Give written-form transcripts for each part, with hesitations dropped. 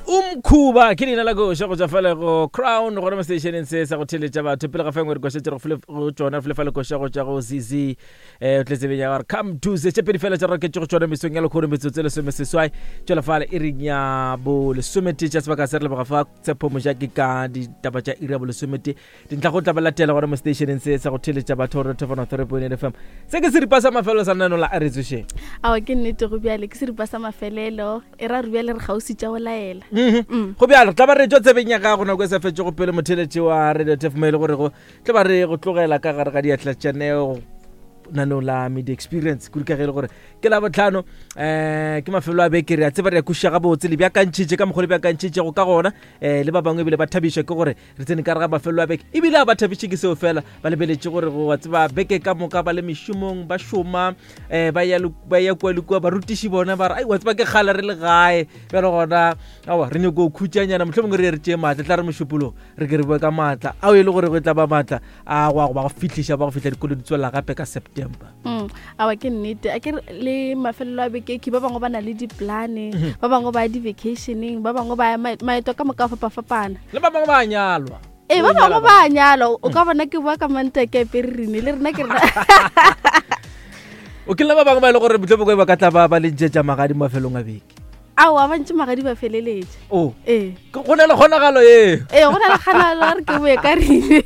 Umkhuba ke leina la koša go tšwa fale go Crown gona mo stationeng se sa go theletša batho pele ga fengwe re koša tše re go tšona fele fale koša go tšwa go ZZ eh o tletse benya gore come to se tše pedi fela tša raketše go tšona mesong ya lekgono metsotso e lesomeseswai tšwela fale e reng ya bo lesometee tša sebaka se re leboga fa tshepo mojaki ka ditaba tša iri ya bolesometee Dintlha go tla ba latela gona mo stationeng se sa go theletša batho gore thefano 3.8 FM. Se ke seripa sa mafelelo sa lenaneo la a re tsošeng. Awa ke nnete go bjale ke seripa sa mafelelo e ra re bjale re gausi tša go laela. Mhm. Go bjalo tla ba re tšwa tsebeng ya gago nako e sa fetšego pele motheletši wa Radio Tef mo e le gore go tla ba re go tlogela ka gare ga diatla tša neo naneo la media experience kudu ka ge e le gore ke la botlhano um ke mafelo a beke re a tseba re ya kuša gabotse le bjakantšhitše ka mokgwa le bjakantšhitšego ka gona um le ba bangwe ebile ba thabišwa ke gore re tsene ka re ga mafelelo a beke ebile a ba thabiše ke seo fela ba lebeletše gore go wa tseba beke ka moka ba le mešomong ba šoma um ba ya kua le kua barutiši bona ba re ai wa tseba ke kgale re le gae bjalo gona aowa re nyako khutšanyana motlho mongwe re ye re tšee maatla tla re mošupolong re ke re boe ka maatla ao e le gore go tla ba maatla a go a go ba go fihliša ba go fihla dikolo di tswelela gape ka september Mm, awa ke nnete a ke le mafelelo a beke ke ba bangwe ba na le diplane mhm. ba bangwe ba ya di-vacationeng ba bangwe ba ya maeto ka moka fapafapana le ba bangwe ba nyalwa ee ba bangwe ba nyalwa o ka mm. bona ke boa ka manta ke apere rene le rena ke rena o ke le ba bangwe ba e le gore motlho bokwe ba ka tla ba ba le ntšetša magadi mafelong a beke aowa ba ntše magadi ba feleletše o ee go na le kgonagalo ee ee go na le kgonagalo a re ke boe ka rene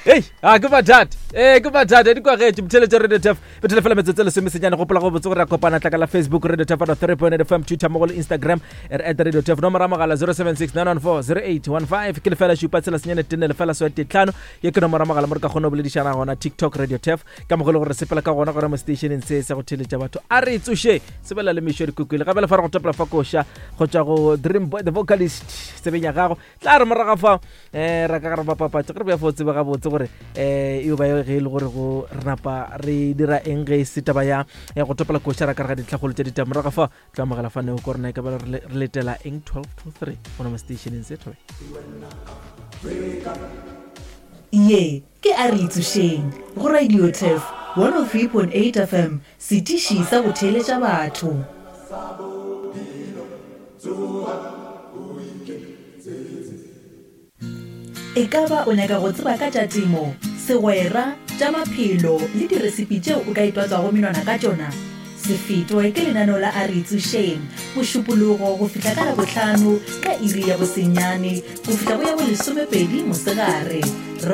ei a ke mathata ee ke mathata di kwagetše motheletše radio tef bethele fela metsotso e lesomesenyane gopola go botse gore ra kopana tlaka la facebook radio tef ano 3 point fm twitter mogo le instagram re at radio tef nomoro ya mogala 076 914 0815 ke lefela šupa tshela senyane tenne lefela swete tlhano ye ke nomoro ya mogala mo re ka kgona go boledišana gona tiktok radio tef ka mogo le gore re sepela ka gona gona mo stationeng se sa go theletša batho a re tsoše sebela le mešo dikokwele gape le fa re go topela fa koša go tšwa go dream boy the vocalist tsebeng ya gago tla re moraga fa um ra ka gare bapapatše ge re beya fo tsebe gabotse gore um eo ba ge e le gore go re napa re dira eng ge e se taba ya go topela koša ra ka re ga dintlhagolo tša ditaba moraga fa tla amogela fa neo ko rena e ka ba re letela eng 12 to 3 gona mo stationeng se thobe Ye ke a re itsošeng go Radio Turf 103.8 FM, setiši sa go theeletša batho. E ka ba o nyaka go tseba ka tša temo, segwera, tša maphelo le diresipi tšeo o ka itwatswago menwana ka tšona? Se fetwe ke lenaneo la A Re Itsošeng, Mošupologo go fihla ka Labohlano ka iri ya bosenyane go fihla go ya bolesomepedi mosegare.